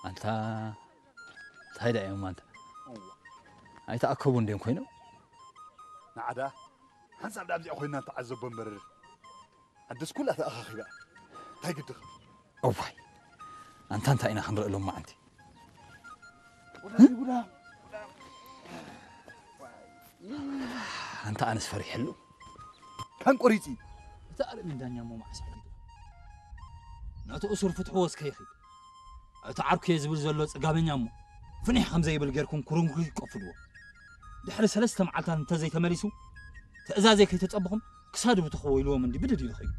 ኣንታ እንታይ ደኣ እዮም ኣንታ? ኣይተኣከቡ እንድዮም ኮይኖም። ንዓዳ ሓንሳብ ዳብዚኣ ኮይና ተዓዘቦ እምበር ዓደስ ኩላ ተኣኻኺባ እንታይ ግድኻ? እዋይ ኣንታ እንታይ ኢና ክንርኢ ሎማዓንቲ? ኣንታ ኣነስ ፈሪሐሉ። ካን ቆሪፂ እቲ ኣርእሚ ዳኛ እሞ መዓስ ሓቲቱ ነቲ እሱር ፍትሕዎ እስከ ይኺድ። እቲ ዓርኩ እየ ዝብል ዘሎ ጽጋበኛ እሞ ፍኒሕ ከም ዘይብል ጌርኩም ኩርንኩሽ ቀፍልዎ። ድሕሪ ሰለስተ መዓልታት እንተዘይተመሊሱ ትእዛዘይ ከይተጸበኹም ክሳዱ ብትኾ ኢልዎም እንዲ ብድድ ኢሉ ኸይዱ።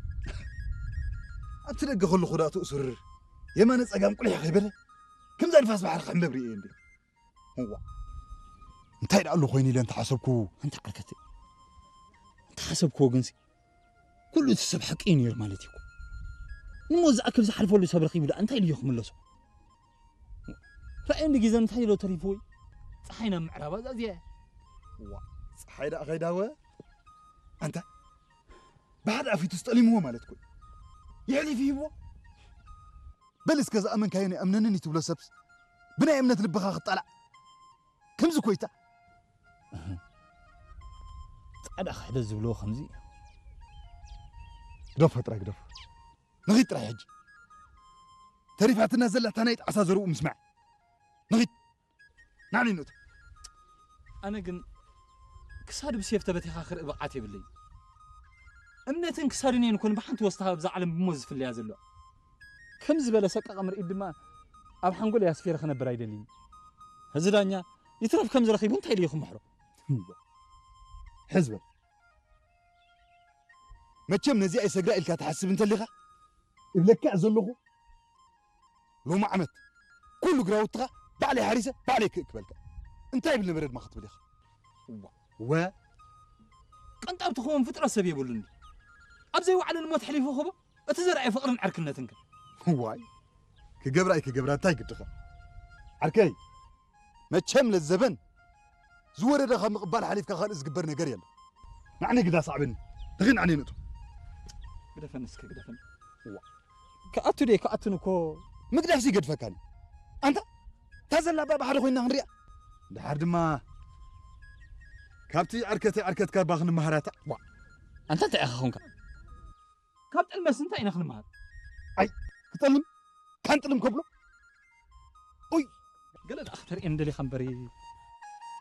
ኣብቲ ደገ ከለኹ ዳኣ እቲ እሱር የማነ ጸጋም ቁሊሕ ከይበለ ከምዛ ንፋስ ባሕሪ ክሕንበብ ርእየ እንዲ እዋ እንታይ ደኣ ኣሎ ኮይኑ ኢለ እንተሓሰብኩ ኣንታ ዓርከተይ እንተሓሰብክዎ ግንሲ ኩሉ እቲ ሰብ ሓቂ እዩ ነይሩ ማለት እዩ እኮ። ንሞ ዝኣክል ዝሓልፈሉ ሰብ ረኺቡ ደኣ እንታይ ኢሉ እዩ ክምለሶ? ራእየ እንዲ ግዜ እንታይ ኢሎ ተሪፍዎ እዩ? ፀሓይ ናብ ምዕራብ ኣዛዝያ እያ። ዋ ፀሓይ ደኣ ከይዳወ ኣንታ ብሓደ ኣፊቱ ስጠሊምዎ ማለት እኮ እዩ። የሕሊፍ ይህብዎ በል እስከ ዝኣመንካዮ ናይ ኣምነንን እዩ ትብሎ ሰብስ ብናይ እምነት ልብኻ ክጣላዕ ከምዚ ኮይታ ፃዕዳ ክሕደት ዝብልዎ ከምዚ እዩ። ግደፎ ጥራይ ግደፎ ንኺድ ጥራይ ሕጂ ተሪፋትና ዘላ እታ ናይ ጣዕሳ ዘርኡ ምስማዕ ንኺድ ናዕኒ ንእቶ ኣነ ግን ክሳዱ ብሴፍ ተበቲኻ ክርኢ ብቕዓት የብለይ። እምነትን ክሳዱን እየን ኮን ብሓንቲ ወስታ ኣብዛ ዓለም ብሞት ዝፍለያ ዘለዋ። ከም ዝበለ ሰቃቒ ምርኢት ድማ ኣብ ሓንጎል ኣስፊረ ክነብር ኣይደልይን። እዚ ዳኛ ይትረፍ ከም ዝረኺቡ እንታይ ኢሉ እዩ ክምሕሮ? ሕዝበ መቸም ነዚኣ ይሰግራ ኢልካ ትሓስብ እንተሊኻ እብለካ ዘለኹ ሎሚ ዓመት ኩሉ ግራውትኻ ባዕለይ ሓሪሰ ባዕለይ ክእክበልካ እንታይ ይብል ነበረ ድማ ክትብል ኢኻ ወ ቅንጣብ ትኸውን ፍጥረት ሰብ የብሉን። ኣብ ዘይወዓለ ንሞት ሕሊፉ ክቦ እቲ ዘርኣየ ፍቕርን ዕርክነትን ከ ዋይ ክገብራ ኣይክገብራ እንታይ ግድኻ ዓርከይ መቸም ለዘበን ዝወረደ ካብ ምቕባል ሓሊፍካ ካልእ ዝግበር ነገር የለን ናዕኒ ግዳ ሳዕብኒ ንኺ ናዕኒ ንእቱ ግደፈን እስከ ግደፈን ክኣቱ ደ ክኣቱን እኮ ምግዳፍሲ ይገድፈካኒ ኣንታ እታ ዘላ ባ ባሕሪ ኮይና ክንሪኣ ድሓር ድማ ካብቲ ዕርከተ ዕርከትካ ባ ክንመሃራታ ኣንታ እንታይ ኢኻ ኾንካ ካብ ጥልመስ እንታይ ኢና ክንመሃር ክጠልም ካንጥልም ከብሎ ገለ ደኣ ክተርእየን ደሊኻ እምበሪ